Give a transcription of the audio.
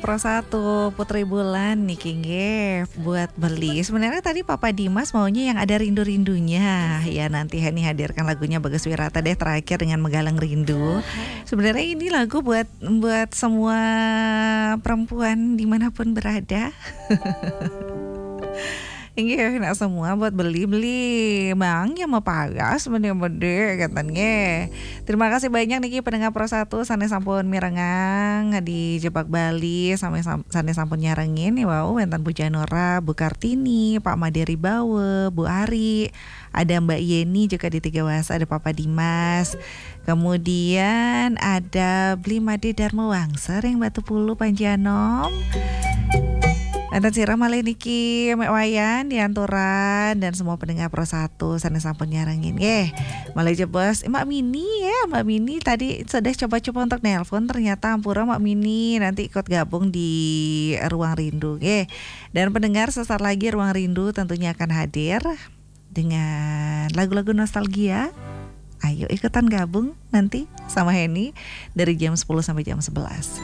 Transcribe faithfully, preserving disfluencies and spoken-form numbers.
Pro satu, Putri Bulan niki nggih buat Beli. Sebenarnya tadi Papa Dimas maunya yang ada rindu-rindunya. Ya, nanti Heni hadirkan lagunya Bagus Wirata deh terakhir dengan Menggalang Rindu. Sebenarnya ini lagu buat buat semua perempuan dimanapun berada. Inggih, nak semua buat Beli-Beli. Bang, yang mau pagas, bende-bende, katanya. Terima kasih banyak niki pendengar Pro satu, sané sampun mirengang di Jebak Bali, sampai sam- sané sampun nyarengin nih, wow, wénten Bu Janora, Bu Kartini, Pak Made Ribawa, Bu Ari, ada Mbak Yeni juga di Tiga Wasa, ada Papa Dimas. Kemudian ada Beli Made Dharma Wangsa ring Batu Pulu Panjanom. Enten sira malih niki Mek Wayan di Anturan dan semua pendengar Pro satu sané sampun nyarengin. Nggih, malih jebos Mbak Mini ya, Mbak Mini tadi sudah coba-coba untuk nelpon, ternyata ampura Mbak Mini, nanti ikut gabung di Ruang Rindu nggih. Dan pendengar, sesaat lagi Ruang Rindu tentunya akan hadir dengan lagu-lagu nostalgia. Ayo ikutan gabung nanti sama Heni dari jam sepuluh sampai jam sebelas.